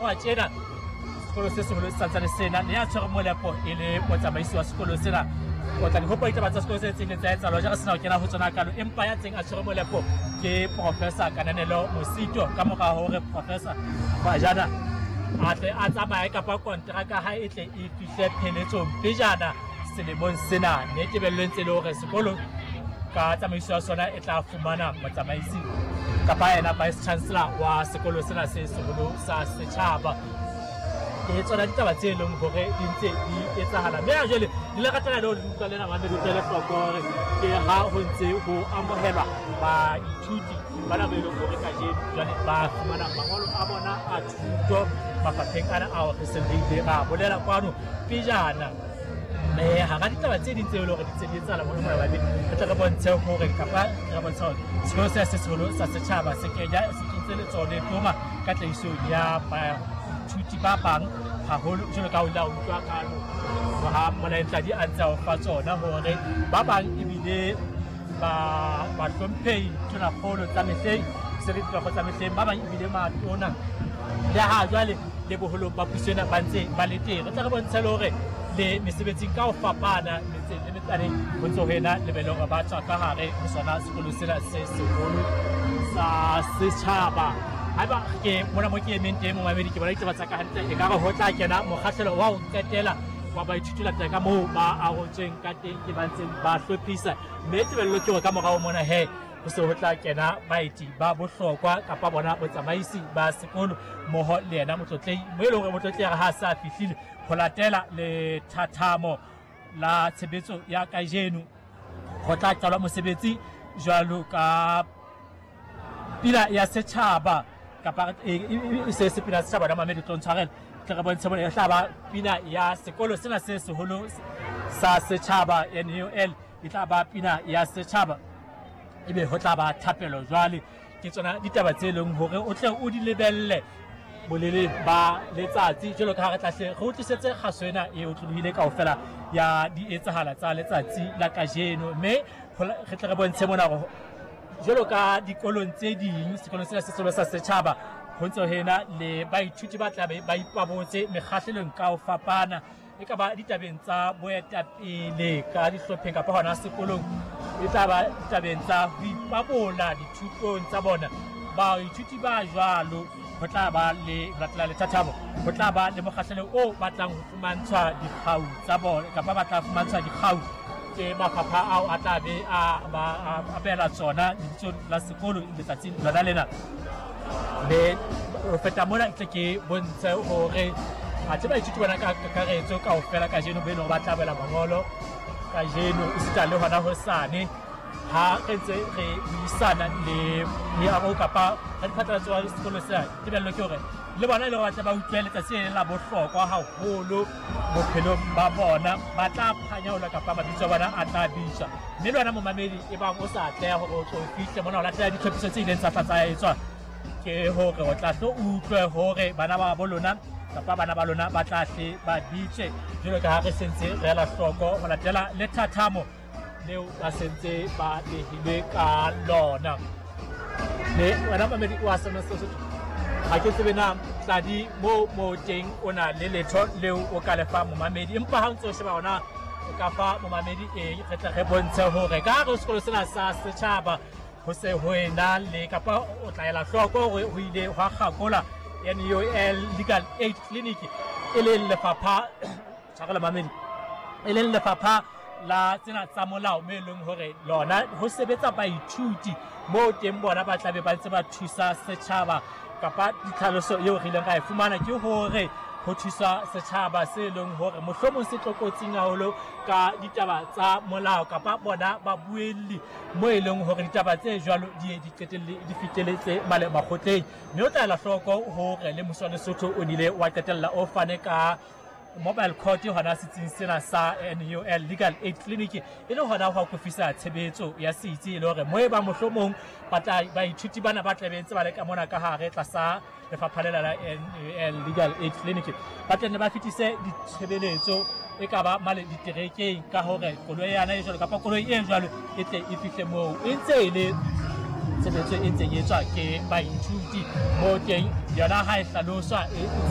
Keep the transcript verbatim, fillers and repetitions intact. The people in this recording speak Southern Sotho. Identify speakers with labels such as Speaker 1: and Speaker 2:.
Speaker 1: tshwarwa tjena sekolo se seholo se santsane sena le ya tshwere molepo e le motsamaisi wa sekolo sena. O tla di hopola ditaba tsa sekolo se tse ileng tsa etsahala ja re sena ho kena ho tsona kalo, empa ya tseng a tshwere molepo ke Professor Kananelo Mosito. Ka mora hore Professor Bajana a tle a tsamaye kapa kontraka ha e tle e fihle pheletsong pejana selemong sena, mme tebello e ntse e le hore sekolo ka tsamaiso ya sona e tla fumana motsamaisi kapa yena vice chancellor wa sekolo sena se seholo sa setjhaba. Ke tsona ditaba tse leng hore di ntse di etsahala, mme ha jwale di le ratela le ho utlwa lena mamedi utlwele hloko hore ke ha ho ntse ho amohelwa baithuti bana ba e leng hore kajeno jwale ba fumana mangolo a bona a thuto mafapheng ana ao re seng re ile ra bolela kwano pejana. Mme hara ditaba tse ding tse e leng hore di ntse di etsahala mona mona babedi, re tle re bontshe hore kapa re bontshe hore sekolo sena se seholo sa setjhaba se kenya se kentse letsoho le toma ka tlahisong ya baithuti ba bang haholo, jwalo ka ha o ile a utlwa kano ha Molaentladi a ntse a o fa tsona hore ba bang ebile ba bahlomphehi tonakgolo tsa mehleng se le ditlhoko tsa mehleng, ba bang ebile matona le ha jwale le boholong ba puso ena ba ntse ba le teng. Re tle re bontshe le hore le mesebetsing ka ho fapana metseng le metsaneng ho ntse ho ena le be le hore ba tswa ka hare ho sona sekolo sena se seholo sa setjhaba. Haeba ke mona mo ke emeng teng momamedi, ke bona ditaba tsa ka hantle, ekare ho tla kena mokgahlelo wa ho qetela wa baithuti latela ka moo ba arotsweng ka teng ke ba ntseng ba hlophisa, mme tebello ke hore ka morao mona he ho se ho tla kena baeti ba bohlokwa kapa bona botsamaisi ba sekolo mmoho le yena motlotlehi, mo e leng hore motlotlehi ha sa fihlile ho latela lethathamo la tshebetso ya kajeno ho tla qalwa mosebetsi jwalo ka pina ya setjhaba kapa e se se pina ya setjhaba na mamedi tlo ntshwarela, tle re bontshe bona e tla ba pina ya sekolo sena se seholo sa setjhaba N U L, e tla ba pina ya setjhaba ebe ho tla ba thapelo. Jwale ke tsona ditaba tse leng hore o tle o di lebelle bolele ba letsatsi jwalo ka ha re tla hle re o tlisetse kgaso ena e otlolohile kaofela ya di etsahala tsa letsatsi la kajeno. Mme re tle re bontshe mona hore jwalo ka dikolong tse ding sekolong sena se seholo sa setjhaba ho ntse ho ena le baithuti ba tla be ba ipabotse mekgahlelong ka ho fapana, e ka ba ditabeng tsa boetapele ka dihlopheng kapa hona sekolong, e tla ba ditabeng tsa ho ipabola dithutong tsa bona. Baithuti ba jwalo ho tla ba le ho latela lethathamo ho tla ba le mokgahlelo o batlang ho fumantshwa dikgau tsa bona kapa ba tla fumantshwa dikgau ke mafapha ao a tla be a ba abela tsona lebitsong la sekolo letsatsing lona lena. Mme ho feta mona tle ke bontshe hore athe baithuti bona ka kakaretso kaofela kajeno be leng hore ba tla abela mangolo kajeno esita le hona hosane ha re ntse re buisana le meaho kapa radiphatlalatso wa sekolo sena. Tebello ke hore le bona e le hore ba tle ba utlwe letsatsi le la bohlokwa haholo bophelong ba bona, ba tla phanyaola kapa mabitso a bona a tla bitswa. Mme le wena momamedi e bang o sa atleha hore o tlo fihle mona ho latela ditlhophiso tse ileng tsa tla tsa etswa, ke hore o tla hlo utlwe hore bana ba bo lona kapa bana ba lona ba tla hle ba bitswe jwalo ka ha re sentse re ela hloko ho latela lethathamo leo ba sentse ba behilwe ka lona. Mme wena mamedi wa sena Sesotho, ha ke tsebe na tladi mo mo teng o na le letho leo o ka lefa momamedi, empa ha o ntse o sheba hona o ka fa momamedi eng, re tle re bontshe hore ka hare ho sekolo sena sa setjhaba ho se ho ena le kapa o tla ela hloko hore ho ile hwa kgakola N U L Legal Aid Clinic e leng lefapha tshwarelo mamedi e leng lefapha la tsena tsa molao, mme e leng hore lona ho sebetsa baithuti moo teng bona ba tlabe ba ntse ba thusa setjhaba kapa ditlhaloso eo re ileng ra e fumana ke hore ho thusa setjhaba se leng hore mohlomong se tlokotsing haholo ka ditaba tsa molao kapa bona babuelli mo e leng hore ditaba tse jwalo di di qetelle di fiteletse male makgotleng. Mme o tla ela hloko hore le mmuso wa Lesotho o nile wa qetella o fane ka mobile court hona setsing sena sa N U L Legal Aid Clinic e le hona ho akofisa tshebetso ya setsi, e le hore mo e ba mohlomong ba tla baithuti bana ba tla be ntse ba le ka mona ka hare tlasa lefapha lena la N U L Legal Aid Clinic ba tla nne ba fetise ditshebeletso e ka ba male diterekeng ka hore koloi yana e jwalo kapa koloi e jwalo e tle e fihle moo. E ntse e le tshebetso e ntseng e etswa ke baithuti mo teng yona ha e hlaloswa e